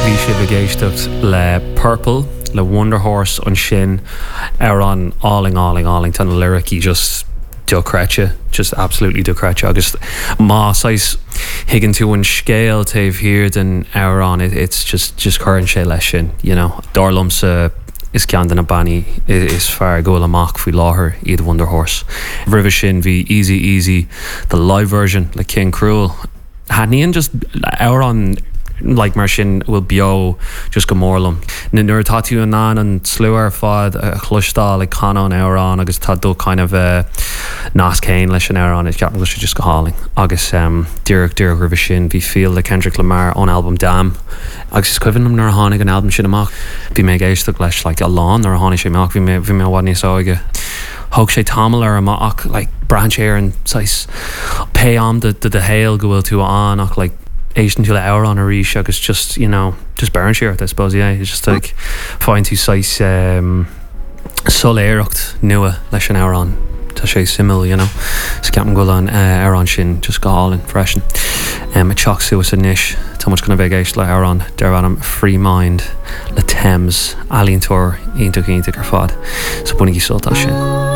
Bhí sibh ag éisteacht le Purple le Wunderhorse ansin, amhrán álainn, álainn, álainn. Tá na liricí just dochreidte, just absolutely dochreidte agus má saghas thuigeann tú an scéal taobh thiar den amhrán, it's just, just cuireann sé leis sin, you know. Dar liomsa is ceann de na bannaí is fearr ag gabháil amach faoi láthair iad Wunderhorse. Roimhe sin bhí Easy Easy, the live version le King Krule. Thaitníonn just amhráin like mar sin a bhfuil beo just go mór liom. Nuair atá tú in ann an slua ar fad a chloisteáil ag canadh an amhráin agus tá do kind of nasc féin leis an amhrán, ceapaim go bhfuil sé just go hálainn. Agus díreach díreach roimhe sin bhí Feel le Kendrick Lamar ón albam Damn. Agus is cuimhin liom nuair a tháinig an albam sin amach, bhí mé ag éisteacht leis like a lán nuair a tháinig sé amach, bhí mé bhí mé i bhfad níos óige. Thóg sé tamall orm ach like braitheann sé ar an saghas pé am de do shaol go bhfuil tú ann ach like éisteann tú le amhrán arís agus just you know just beireann sé ort I suppose yeah it's just like faigheann tú saghas um, soiléireacht nua leis an amhrán. Tá sé suimiúil, you know. So ceapaim go bhfuil an amhrán sin just go hálainn freisin. Ag teacht suas anois, tá muid chun a bheith ag éisteacht le hamhrán darb ainm Free Mind le Tems, ealaíontóir iontach iontach ar fad. So bainigí sult as sin.